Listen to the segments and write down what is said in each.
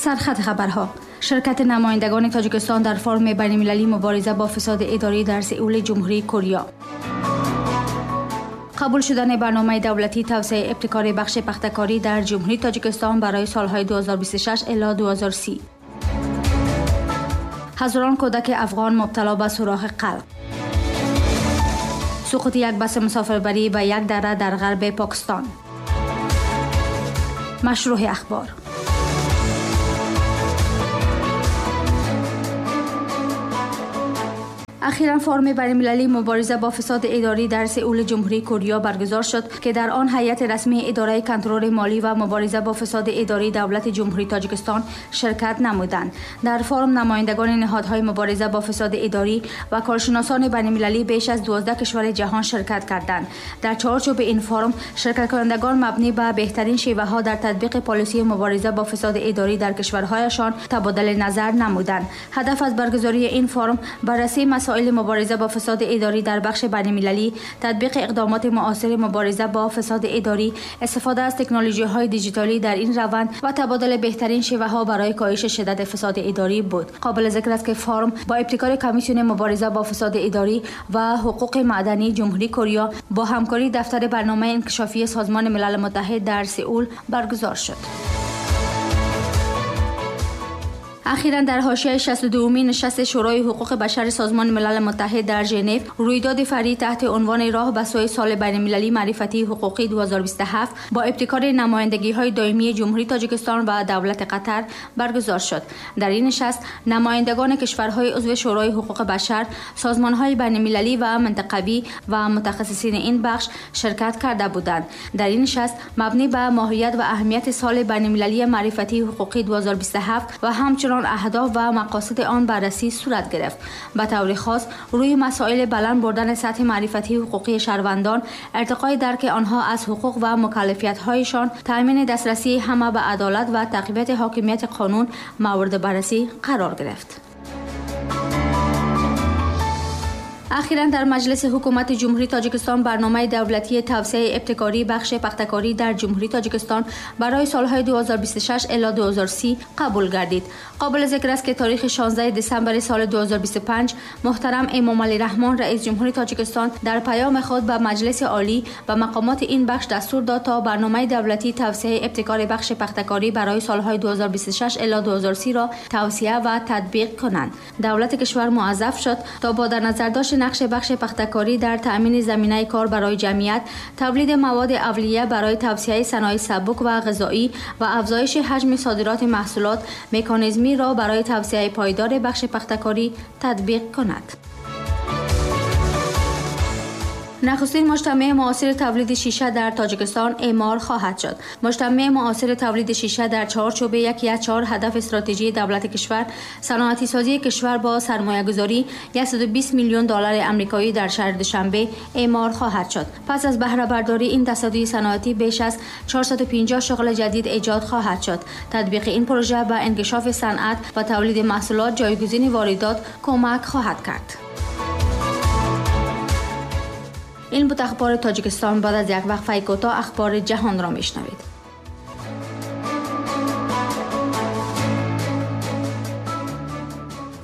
سرخط خبرها: شرکت نمایندگان تاجیکستان در فورم بین‌المللی مبارزه با فساد اداری در سئول جمهوری کوریا. قبول شدن برنامه دولتی توسعه ابتکار بخش پخته‌کاری در جمهوری تاجیکستان برای سالهای 2026 الی 2030. هزاران کودک افغان مبتلا به سوراخ قلب. سقوط یک بس مسافربری به یک دره در غرب پاکستان. مشروح اخبار. اخیراً فورم بین‌المللی مبارزه با فساد اداری در سئول جمهوری کوریا برگزار شد که در آن هیئت رسمی اداره کنترل مالی و مبارزه با فساد اداری دولت جمهوری تاجیکستان شرکت نمودند. در فورم نمایندگان نهادهای مبارزه با فساد اداری و کارشناسان بین‌المللی بیش از 12 کشور جهان شرکت کردند. در چارچوب این فورم شرکت کنندگان مبنی بر بهترین شیوه‌ها در تطبیق پالیسی مبارزه با فساد اداری در کشورهایشان تبادل نظر نمودند. هدف از برگزاری این فورم بررسی مسائل مبارزه با فساد اداری در بخش بین‌المللی، تطبیق اقدامات معاصر مبارزه با فساد اداری، استفاده از تکنولوژی‌های دیجیتالی در این روند و تبادل بهترین شیوه‌ها برای کاهش شدت فساد اداری بود. قابل ذکر است که فورم با ابتکار کمیسیون مبارزه با فساد اداری و حقوق معدنی جمهوری کوریا با همکاری دفتر برنامه انکشافی سازمان ملل متحد در سئول برگزار شد. اخیراً در حاشیه 62مین نشست شورای حقوق بشر سازمان ملل متحد در ژنو، رویداد فرعی تحت عنوان راه به سوی سال بین‌المللی معرفتی حقوقی 2027 با ابتکار نمایندگی‌های دائمی جمهوری تاجیکستان و دولت قطر برگزار شد. در این نشست نمایندگان کشورهای عضو شورای حقوق بشر، سازمان‌های بین‌المللی و منطقوی و متخصصین این بخش شرکت کرده بودند. در این نشست مبنی بر ماهیت و اهمیت سال بین‌المللی معرفتی حقوقی 2027 و همچنین اهداف و مقاصد آن بررسی صورت گرفت. به طور خاص روی مسائل بلند بردن سطح معرفتی حقوقی شهروندان، ارتقای درک آنها از حقوق و مکلفیت‌هایشان، تأمین دسترسی همه به عدالت و تقویت حاکمیت قانون مورد بررسی قرار گرفت. اخیراً در مجلس حکومت جمهوری تاجیکستان برنامه دولتی توسعه ابتکاری بخش پخته‌کاری در جمهوری تاجیکستان برای سالهای 2026 الی 2030 قبول گردید. قابل ذکر است که تاریخ 16 دسامبر سال 2025 محترم امامعلی رحمان رئیس جمهوری تاجیکستان در پیام خود به مجلس عالی و مقامات این بخش دستور داد تا برنامه دولتی توسعه ابتکار بخش پخته‌کاری برای سالهای 2026 الی 2030 را توصیه و تطبیق کنند. دولت کشور موظف شد تا با در نظر داشت نقش بخش پخته‌کاری در تأمین زمینه کار برای جمعیت، تولید مواد اولیه برای توسعه صنایع سبک و غذایی و افزایش حجم صادرات محصولات، مکانیزمی را برای توسعه پایدار بخش پخته‌کاری تطبیق کند. نخستین مجتمع معاصر تولید شیشه در تاجیکستان اعمار خواهد شد. مجتمع معاصر تولید شیشه در چارچوب یکی از 4 هدف استراتژی دولت کشور، صنعتی سازی کشور با سرمایه‌گذاری 120 میلیون دلار آمریکایی در شهر دوشنبه اعمار خواهد شد. پس از بهره برداری این تصدی صنعتی بیش از 450 شغل جدید ایجاد خواهد شد. تطبیق این پروژه به انکشاف صنعت و تولید محصولات جایگزین واردات کمک خواهد کرد. این بود اخبار تاجیکستان. بعد از یک وقفه کوتاه اخبار جهان را میشنوید.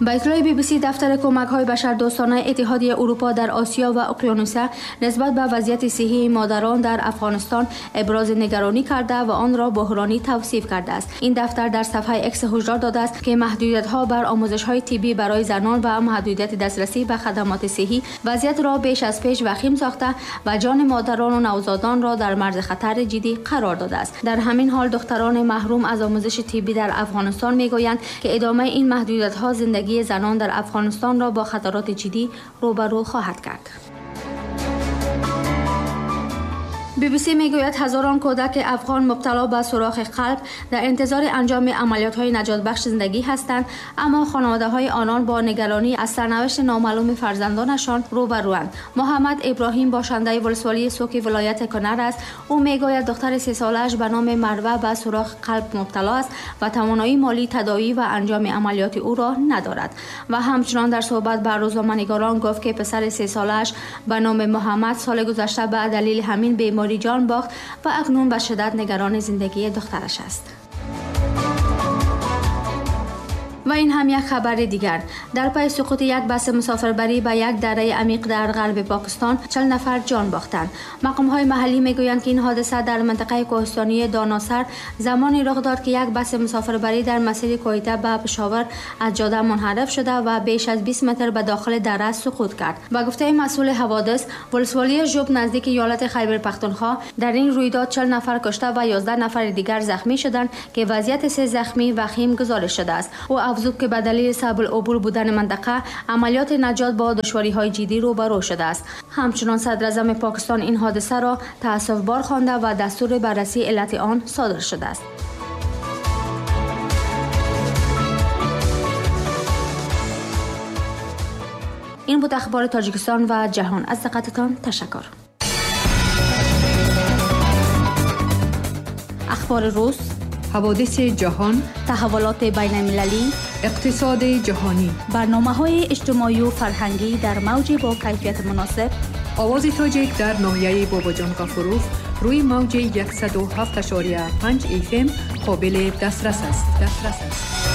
با اطلاع بی بی سی، دفتر کمک‌های بشردوستانه اتحادیه اروپا در آسیا و اقیانوسیه نسبت به وضعیت صحی مادران در افغانستان ابراز نگرانی کرده و آن را بحرانی توصیف کرده است. این دفتر در صفحه اکس هشدار داده است که محدودیت‌ها بر آموزش‌های طبی برای زنان و محدودیت دسترسی به خدمات صحی وضعیت را بیش از پیش وخیم ساخته و جان مادران و نوزادان را در مرز خطر جدی قرار داده است. در همین حال دختران محروم از آموزش طبی در افغانستان می‌گویند که ادامه این محدودیت‌ها زندگی زنان در افغانستان را با خطرات جدی روبرو خواهد کرد. بی بی سی میگوید هزاران کودک افغان مبتلا به سوراخ قلب در انتظار انجام عملیات‌های نجات بخش زندگی هستند، اما خانواده‌های آنان با نگرانی از سرنوشت نامعلوم فرزندانشان روبروند. محمد ابراهیم باشنده ولسوالی سوک ولایت کنر است. او میگوید دختر 3 ساله‌اش به نام مروه به سوراخ قلب مبتلا است و توانایی مالی تداوی و انجام عملیات او را ندارد. و همچنان در صحبت با روزنامه‌نگاران گفت که پسر 3 ساله‌اش به نام محمد سال گذشته به دلیل همین بیماری جان باخت و اکنون به شدت نگران زندگی دخترش است. و این هم یک خبر دیگر. در پی سقوط یک بس مسافربری به یک دره عمیق در غرب پاکستان 40 نفر جان باختند. مقام‌های محلی میگویند که این حادثه در منطقه کوهستانی داناسر زمانی رخ داد که یک بس مسافربری در مسیر کویته به پشاور از جاده منحرف شده و بیش از 20 متر به داخل دره سقوط کرد. با گفته مسئول حوادث، ولسوالی ژوب نزدیک ایالت خیبر پختونخوا، در این رویداد 40 نفر کشته و 11 نفر دیگر زخمی شدند که وضعیت 3 زخمی وخیم گزارش شده است. او افزود که به دلیل صعب العبور بودن منطقه، عملیات نجات با دشواری‌های جدی روبرو شده است. همچنان صدراعظم پاکستان این حادثه را تأسف‌بار خوانده و دستور بررسی علت آن صادر شده است. این بود اخبار تاجیکستان و جهان. از دقتتان تشکر. اخبار روز، حوادث جهان، تحولات بین المللی، اقتصاد جهانی، برنامه‌های اجتماعی و فرهنگی در موج با کیفیت مناسب. آواز تاجیک در ناحیه باباجان غفوروف روی موج 107.5 FM قابل دسترس است.